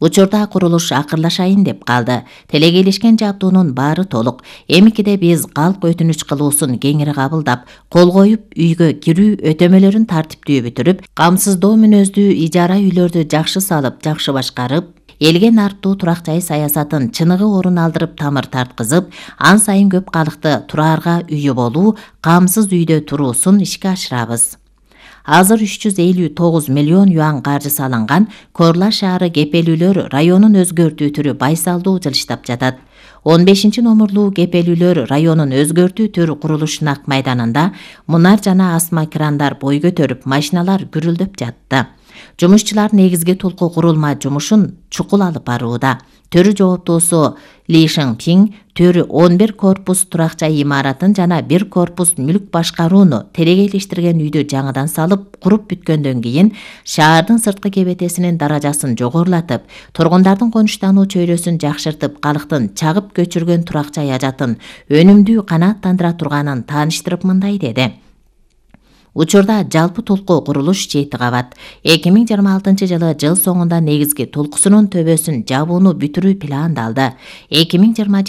Учурда курулуш акырлашайын деп калды. Телегейлешкен жабдуунун баары толук. Эмикиде биз калк өтүнүч кылуусун кеңири кабылдап, кол коюп, үйгө кирүү өтөмөлөрүн тартиптүү бүтүрүп, камсыздоо мүнөздүү ижара үйлөрдү жакшы салып, жакшы башкарып, элге нарптуу турак жай саясатын чыныгы орун алдырып тамыр тарткызып, ан сайын көп калыкты тураарга үйү болуу, камсыз үйдө туруусун ишке ашырабыз. Азыр 359 миллион юан каржы салынган Корла шаары кепелүүлөр районун өзгөртүү түрү байсалдуу жылыштап жатат. 15-номурлуу кепелүүлөр районун өзгөртүү түрү курулуш нак майданында мунар жана асма крандар бой көтөрүп, машиналар гүрүлдөп жатты. Жумушчулар негизги толку курулма жумушун чукул алып барууда. Төрү жооптуусу Ли Шыңпиң төрү 11 корпус турак жай имаратын жана 1 корпус мүлк башкарууну телегейлештирген үйдү жаңыдан салып, куруп бүткөндөн кийин шаардын сырткы кебетесинин даражасын жогорулатып, тургундардын конуштануу чөйрөсүн жакшыртып, калктын чагып көчүргөн турак жай ажатын өнүмдүү канааттандыра турганын тааныштырып мындай деди. Учурда жалпы толку курулуш 7 кабат. 2026 жылы жыл соңунда негизги толкусунун төбөсүн жабууну бүтүрүү пландалды. 2027